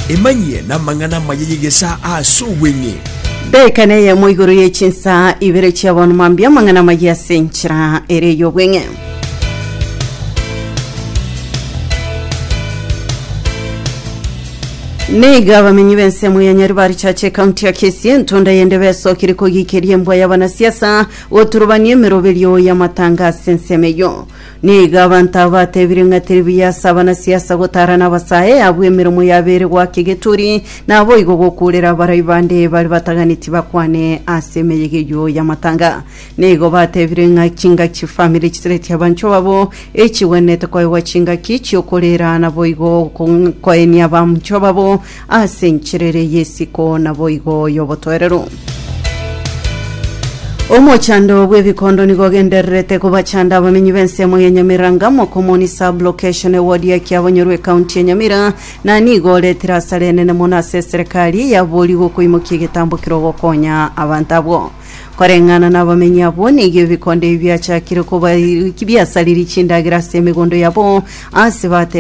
Emanyie namang'ana amaya y'egesaa ase obweng'e. Dakika neyemo igoro ye chinsa ibere chia bono mambia amang'ana amaya ase enchera ere y'obweng'e. Nigo abamenyi b'ensemo ya Nyaribari Church ekaunti ya Kisii entunda yende besokire kogikeria embwa y'abanasiasa goturubania emeroberio y'amatanga ase ensemo eyio. Nigo abanto aba batebire ng'a teri buya ase abanasiasa gotara nabasae abwo emeremo yabeire goaka egeturi, naboigo gokuurera abarai bande baria bataganeti bakwane ase emeyega eyio y'amatanga. Nigo batebire ng'a chingaki chifamiri chisiretie abanchwa babo, echigwenerete koegwa chingaki chi'okoreera naboigo koenia abanchwa babo ase enchera ere y'esiko naboigo y'obotoereru. Omochando bw'ebikondo nigo ogendererete kobachanda abamenyi b'ensemo ya Nyamira ngamo Komoni sub-location eward ya Kiabonyoru ekaunti ya Nyamira na nigo oretire asara enene mono ase eserekari yaboria gokoimokia egetambo kero gokonya abanto abwo. Koreng'ana nabamenyi abwo nigo ebikondo ebi biachakire koba biasaririe chindagera ase emegondo yabo ase bate.